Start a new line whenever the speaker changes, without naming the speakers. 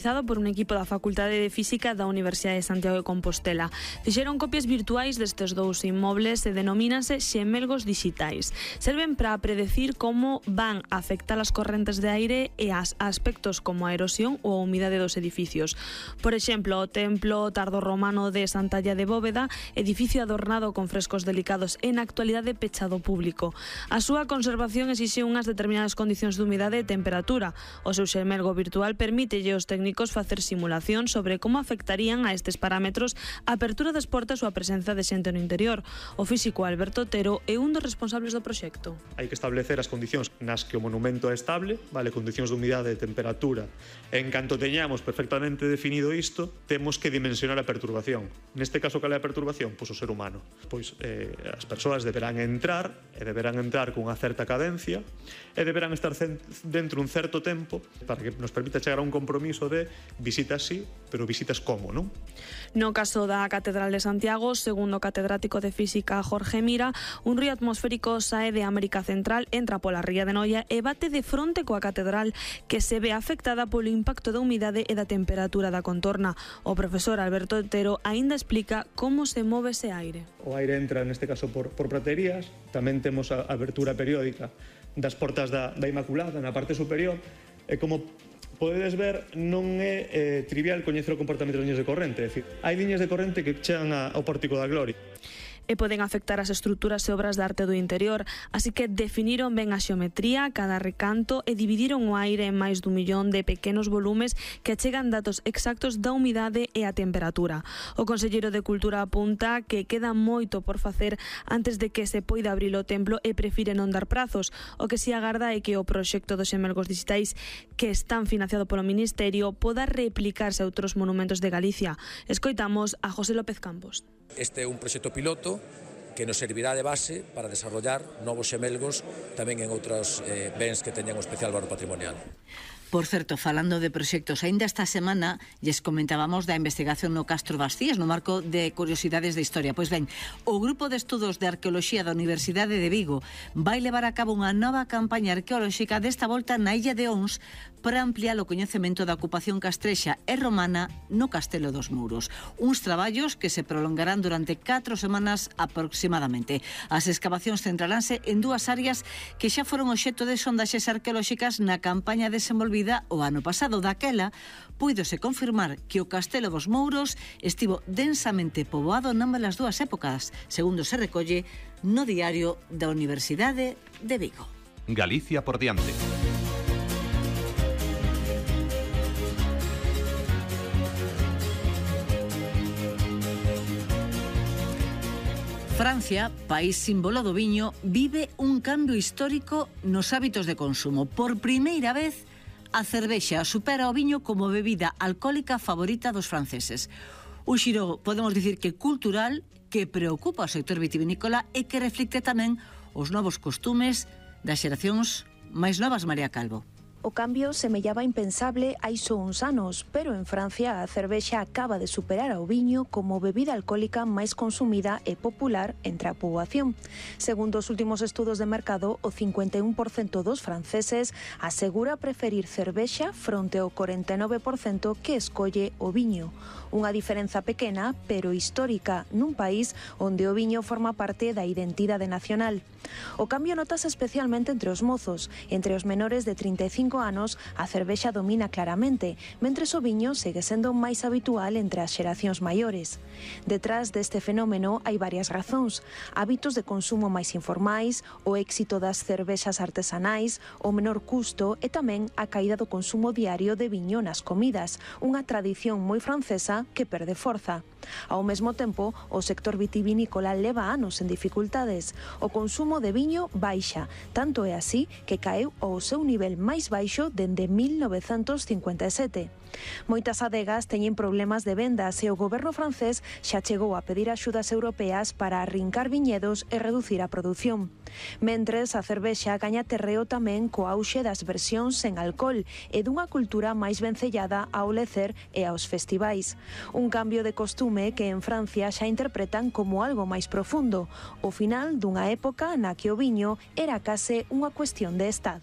Por un equipo da Facultade de Física da Universidade de Santiago de Compostela. Fixeron copias virtuais destes dous inmobles e denomínanse xemelgos dixitais. Serven para predecir como van a afectar as correntes de aire e as aspectos como a erosión ou a humidade dos edificios. Por exemplo, o templo tardorromano de Santalla de Bóveda, edificio adornado con frescos delicados e na actualidade pechado ao público. A súa conservación exixe unhas determinadas condicións de humidade e temperatura. O seu xemelgo virtual permítelle aos técnicos facer simulación sobre como afectarían a estes parámetros a apertura das portas ou a presenza de xente no interior. O físico Alberto Otero é un dos responsables do proxecto.
Hai que establecer as condicións nas que o monumento é estable, vale, condicións de humidade e temperatura. En canto teñamos perfectamente definido isto, temos que dimensionar a perturbación. Neste caso, cal é a perturbación? Pois o ser humano. Pois as persoas deberán entrar cunha certa cadencia e deberán estar dentro un certo tempo para que nos permita chegar a un compromiso de visitas sí, pero visitas como, non?
No caso da Catedral de Santiago, segundo o catedrático de Física Jorge Mira, un río atmosférico sae de América Central, entra pola ría de Noia e bate de fronte coa catedral, que se ve afectada polo impacto da humidade e da temperatura da contorna. O profesor Alberto Otero aínda explica como se move ese aire.
O aire entra, neste caso, por praterías. Tamén temos a abertura periódica das portas da Inmaculada na parte superior, e como podedes ver, non é trivial coñecer o comportamento das liñas de corrente. É dicir, hai liñas de corrente que chegan ao Pórtico da Gloria
e poden afectar as estruturas e obras de arte do interior, así que definiron ben a xeometría, cada recanto e dividiron o aire en máis dun millón de pequenos volumes que achegan datos exactos da humidade e a temperatura. O conselleiro de Cultura apunta que queda moito por facer antes de que se poida abrir o templo e prefire non dar prazos. O que si agarda é que o proxecto dos xemelgos dixitais, que están financiado polo Ministerio, poda replicarse a outros monumentos de Galicia. Escoitamos a José López Campos.
Este é un proxecto piloto que nos servirá de base para desarrollar novos xemelgos tamén en outros bens que teñan un especial valor patrimonial.
Por certo, falando de proxectos, aínda esta semana lles comentábamos da investigación no Castro Bastías no marco de Curiosidades de Historia. Pois ben, o Grupo de Estudos de Arqueoloxía da Universidade de Vigo vai levar a cabo unha nova campaña arqueolóxica desta volta na Illa de Ons para ampliar o coñecemento da ocupación castrexa e romana no Castelo dos Mouros. Uns traballos que se prolongarán durante 4 semanas aproximadamente. As escavacións centralanse en dúas áreas que xa foron obxecto de sondaxes arqueolóxicas na campaña desenvolvida o ano pasado. Daquela, puídose confirmar que o Castelo dos Mouros estivo densamente poboado nambas as dúas épocas, segundo se recolle no Diario da Universidade de Vigo.
Galicia por diante.
Francia, país símbolo do viño, vive un cambio histórico nos hábitos de consumo. Por primeira vez, a cervexa supera o viño como bebida alcohólica favorita dos franceses. Un xiro, podemos dicir que cultural, que preocupa ao sector vitivinícola e que reflicte tamén os novos costumes das xeracións máis novas, María Calvo.
O cambio semellaba impensable hai só uns anos, pero en Francia a cervexa acaba de superar ao viño como bebida alcohólica máis consumida e popular entre a poboación. Segundo os últimos estudos de mercado, o 51% dos franceses asegura preferir cervexa fronte ao 49% que escolle o viño. Unha diferenza pequena, pero histórica, nun país onde o viño forma parte da identidade nacional. O cambio notase especialmente entre os mozos. Entre os menores de 35 anos, a cervexa domina claramente, mentres o viño segue sendo máis habitual entre as xeracións maiores. Detrás deste fenómeno hai varias razóns: hábitos de consumo máis informais, o éxito das cervexas artesanais, o menor custo e tamén a caída do consumo diario de viño nas comidas, unha tradición moi francesa que perde forza. Ao mesmo tempo, o sector vitivinícola leva anos en dificultades. O consumo de viño baixa, tanto é así que caeu ao seu nivel máis baixo dende 1957. Moitas adegas teñen problemas de vendas e o goberno francés xa chegou a pedir axudas europeas para arrincar viñedos e reducir a produción. Mentres, a cervexa gaña terreo tamén co auxe das versións sen alcohol e dunha cultura máis vencellada ao lecer e aos festivais. Un cambio de costume que en Francia xa interpretan como algo máis profundo, o final dunha época na que o viño era case unha cuestión de Estado.